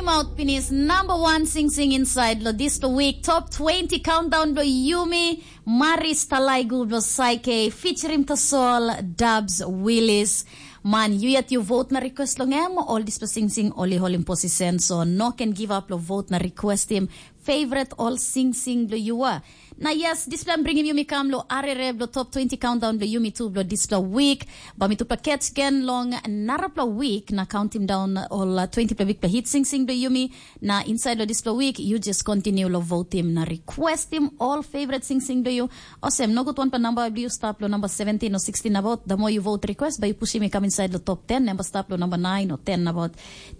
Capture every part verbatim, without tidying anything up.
Paut pinis number one singsing inside lo dispela week top twenty countdown lo Yumi Maris Talaigu lo Saike featuring Tasol Dubs Willis. Man, you yet you vote na request long em, all dispela singsing oli holim position, so no can give up lo vote na request him favorite all singsing lo you are. Na yes, dispela em bringim yumi kam lo arere blo top twenty countdown blo yumi tu blo dispela week. Ba mi tupela catch gen long narapela week na counting down all uh, twenty pela week pela hit sing sing blo yumi. Na inside lo dispela week, you just continue lo vote him na request him all favorite sing sing blo you. Osem, no good one pa number blo you stop lo number seventeen or sixteen about. The more you vote request, ba you push him come inside lo top ten, number stop lo number nine or ten about.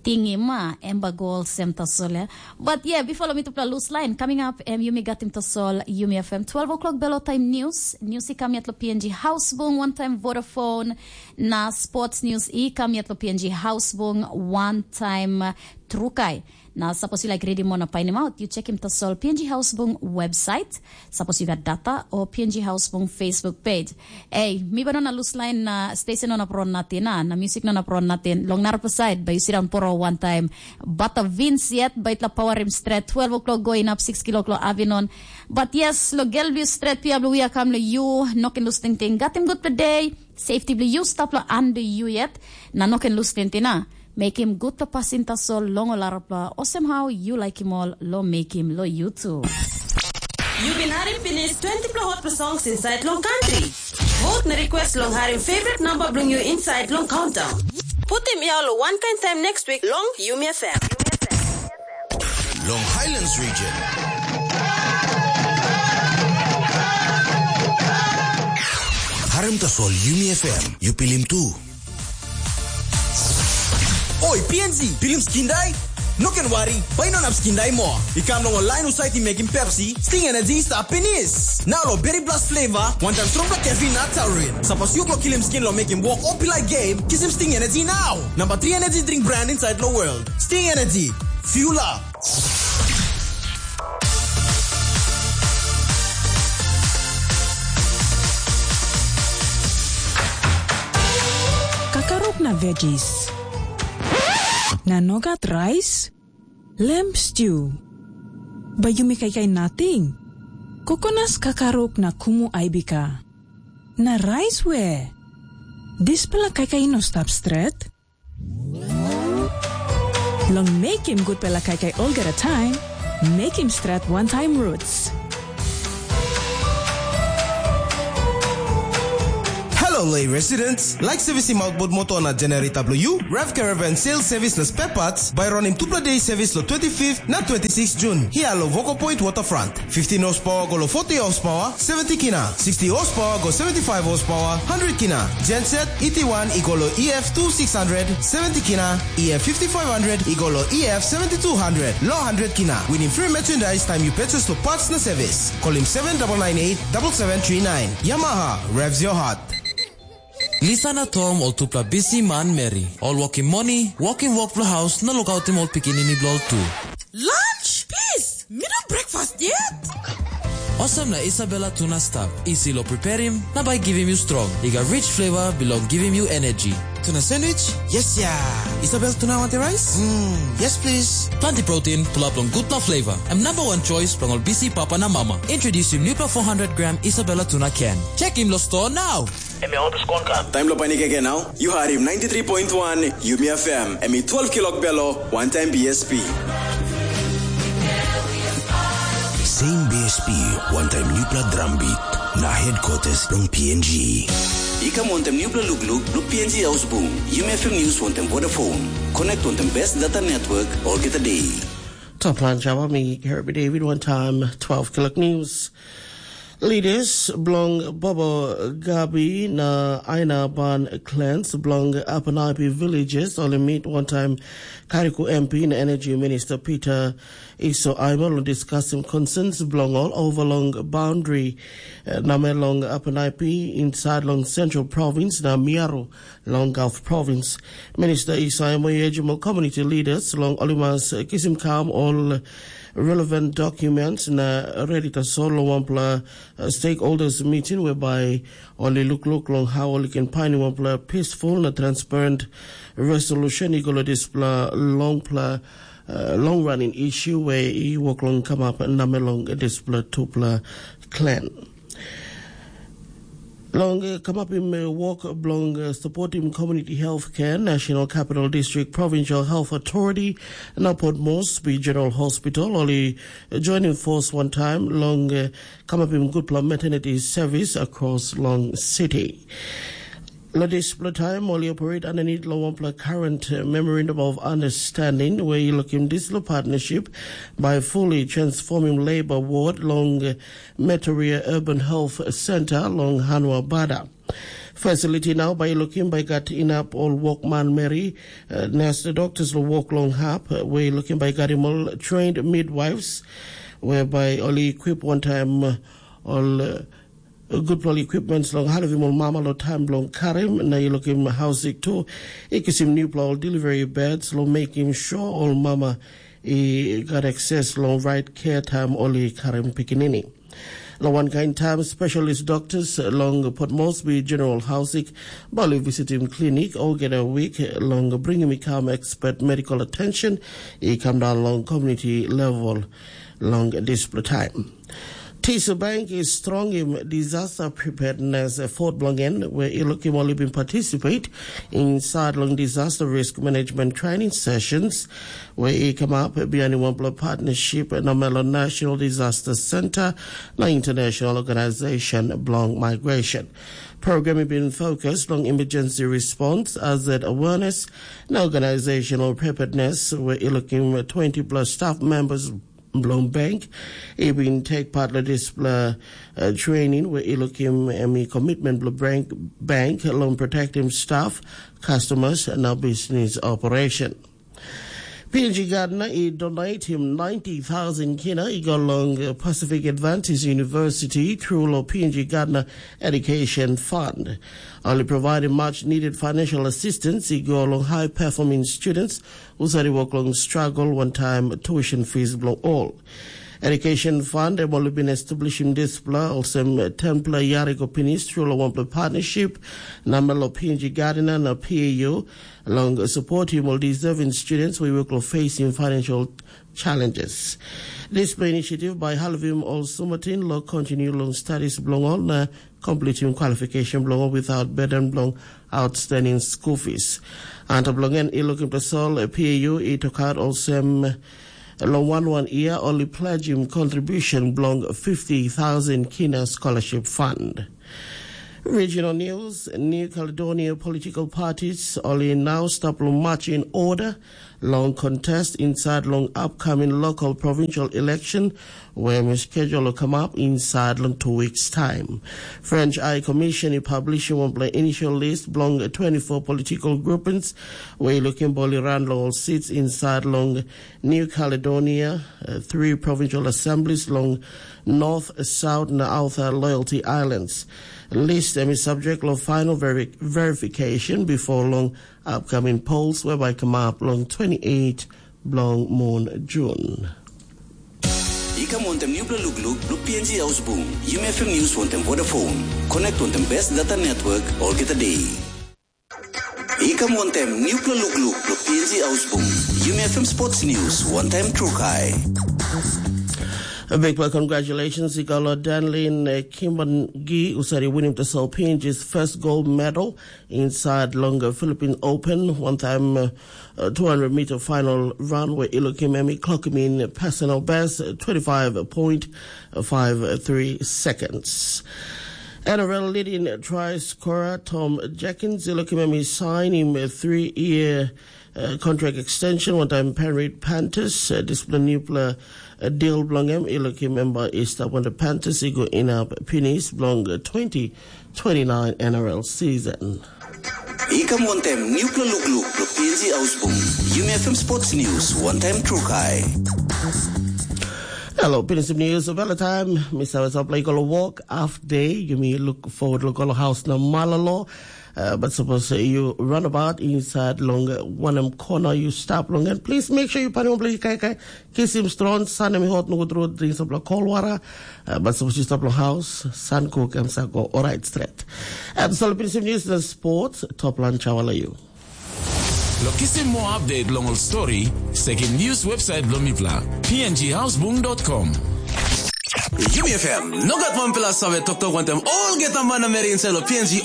Tingi ma, emba goal sem tasol ya. But yeah, before lo mi tupela loose line, coming up, em yumi gatim tasol, yumi F M twelve o'clock belo time news. News i kam yet lo P N G Housebung, one time Vodafone, na sports news i kam yet lo P N G Housebung, one time Trukai. Na suppose you like reading more na painim out, you check him tasol P N G Housebung website. Suppose you got data or P N G Housebung Facebook page. Ei, mi ba no na loose line na station no na pro natin, na, na music no na pro natin. Long narapela side, ba you sit down poro one time. But a Vince yet, ba itla power him straight. Twelve o'clock going up, six o'clock lo Avinon. But yes, lo gel view straight, pia blue we are come lo you. No can lose ting ting. Got him good per day. Safety blue you stop lo under you yet. Na no can lose ting ting na. Mekim gutpela pasin tasol long ol arapela, olsem hau yu laikim ol long mekim long YouTube. Yu bin harim pinis twenty pela hot songs inside long country. Vote na request long harim favorite number bilong yu inside long countdown. Putim yau lo one kind time next week long Yumi F M. Long Highlands region. Harim tasol Yumi F M, yu pilim tu. Oi, P N G, pilim skin dai? No ken wari, bai no nap skin dai moa. I kam long ol lain husat i mekim Pepsi, Sting Energy i stap pinis. Nau lo Berry Blast flavor, wantaim strongpela caffeine na taurine. Sapos yu go kilim skin lo mekim wok o pilai game, kisim Sting Energy nau. Number three energy drink brand inside lo world. Sting Energy, fuel up. Kakaruk na veggies. Na nogat rice? Lamb stew. Bai yumi kaikai nating. Kokonas kakaruk na kumu aibika. Na rice we? Dispela kaikai i no stap stret. Long mekim gutpela kaikai olgeta taim, mekim stret wantaim roots. Hello, Lei residents. Like servicing outboard motor na generator W U, Rev Caravan Sales Service na spare parts, by running tupla day service lo twenty-fifth na twenty-sixth June. Here lo Voco Point Waterfront. Fifteen horsepower go lo forty horsepower, seventy kina. Sixty horsepower go seventy-five horsepower, hundred kina. Genset, E T one i go lo E F two six hundred, seventy kina. E F fifty-five hundred i go lo E F seventy-two hundred, lo hundred kina. Winim free merchandise time you purchase lo parts na service. Call him seven double nine eight double seven three nine. Yamaha, revs your heart. Lisa na Tom ol tupela bisi manmeri. Ol wokim moni, wokim wok bilong haus na lukautim ol pikinini bilong ol tu. Lunch? Please, mi no breakfast yet. Olsem na Isabella tuna stap, isi long preparim na bai givim yu strong. I gat rich flavor bilong givim yu energy. Tuna sandwich? Yes ya. Isabel tuna wanti rice? Mm, yes please. Planti protein, pulap long gutpela flavor. Em number one choice bilong ol bisi papa na mama. Introdusim nupela four hundred gram Isabella tuna can. Check him lo store now. Em ya otus kon kam. Taim lo panik eke nau, yu harim ninety-three point one Yumi F M, em i twelve kilok belo, one time B S P. Same B S P, one time nupela drum beat, na headquarters long P N G. I kam wantaim nupela lukluk, lo P N G Ausbung, Yumi F M News wantaim Vodafone. Connect wantaim best data network, olgeta day. Top line Java, me Herbie David, one time, twelve kilok news. Leaders bilong Bobo Gabi na Aina Ban clans bilong Apanapi villages ol i meet wantaim Kariku M P na Energy Minister Peter Iso Aima long diskasim concerns bilong ol over long boundary eh, namel long Apanapi inside long Central Province na Miaro long Gulf Province. Minister Iso Aima i urgim ol community leaders long ol i mas kisim kam ol relevant documents na redi tasol long wanpela uh, stakeholders meeting whereby ol i lukluk long how ol i ken painim wanpela peaceful na transparent resolution i go long dispela longpela uh, long running issue where he work long come up number long dispela tupla clan. Long uh, come up in uh, work belong uh, supporting community health care, National Capital District Provincial Health Authority, na Port Moresby General Hospital, only joining force one time long uh, come up in good maternity service across long city. Lo dispela taim ol i operate underneath lo wanpela current uh, memorandum of understanding where you look in this lo partnership by fully transforming labor ward long uh, Metoria Urban Health Center long Hanua Bada. Facility now by looking by got enough all workman Mary uh, nurse doctors lo work long hap uh, where looking by got him all trained midwives whereby only equip one time uh, all uh, gutpela equipments long halivim ol mama lo taim bilong karim na i lukim hausik tu i kisim nupela ol delivery beds long mekim sure ol mama i gat access long right care taim ol i karim pikinini. Long wankain taim specialist doctors long Port Moresby General Hausik bai ol i visitim klinik olgeta wik long bringim i kam expert medical attention i kam daun long community level long dispela taim. Tisu Bank is strong in disaster preparedness effort bilong en where i lukim ol i bin participate inside long disaster risk management training sessions where i come up behind wanpela partnership na Melo National Disaster Center na International Organization bilong Migration. Program i bin focus long emergency response, hazard awareness na organizational preparedness where i lukim twenty plus staff members bilong bank i bin take part lo dispela uh, training where i lukim em i commitment bilong bank, bank long protecting staff, customers na business operation. P N G Gardner i donate him ninety thousand kina i go long uh, Pacific Adventist University through lo P N G Gardner Education Fund. Only providing much needed financial assistance i go long high performing students who sari work long struggle one time tuition fees bilong all. Education Fund em ol bin establishim dispela olsem tenpela yari go pinis tru long wanpela partnership na melo P N G Gardner na P A U long supportim ol deserving students we work long facing financial challenges. Dispela initiative by Halvim ol sumatin lo continue long studies bilong ol na completing qualification bilong ol without burden bilong outstanding school fees. Antap long en i lukim tasol P A U i tokat olsem long wan wan year only pledging contribution bilong fifty thousand kina scholarship fund. Regional news, New Caledonia political parties only now stop long march in order long contest inside long upcoming local provincial election where we schedule to come up inside long two weeks time. French High Commission i publish wanpela initial list belong twenty-four political groupings where looking boli run long all seats inside long New Caledonia, uh, three provincial assemblies long North, South na Outer Loyalty Islands. List em is subject long final veri verification before long upcoming polls whereby come up long twenty-eight bilong mun Jun. I kam wantem nupela lukluk bilong P N G Ausbung. Yumi F M News wantem Vodafone. Connect wantem best data network olgeta day. I kam wantem nupela lukluk bilong P N G Ausbung. Yumi F M Sports News wantaim Trukai. A big well congratulations i go lo Danlin uh, Kimban Gi usari winning the so P N G's first gold medal inside long Philippine Open one time uh, uh, two hundred meter final run where Ilokim Emi clock him in personal best uh, twenty-five point five three seconds. N R L leading try scorer Tom Jenkins Ilokim Emi sign him a three-year uh, contract extension one time Penrith Panthers uh, discipline new player uh, deal belong him Ilokim Emba is that when the Panthers he go in up penis belong uh, twenty twenty-nine N R L season. I kam wantem nupela lukluk bilong P N G Ausbung. Yumi F M Sports News wantaim Trukai. Hello, Pinisim News. Well, time, Mister Wesop, like all walk half day. Yumi look forward, look all house na malalo. Uh, but suppose uh, you run about inside long uh, one em corner, you stop long and please make sure you put on play kai kai. Kisim strong, sun em hot, no good road, drink some cold water. Uh, but suppose you stop long house, sun cook em sa go all right straight. And so Pinisim News na sports, top lunch hour you. Lo kisim moa update long ol stori, sekim news website bilong mipela, P N G houseboom dot com. Yumi F M, no gat wanpela save toktok wantem olgeta manameri inside lo P N G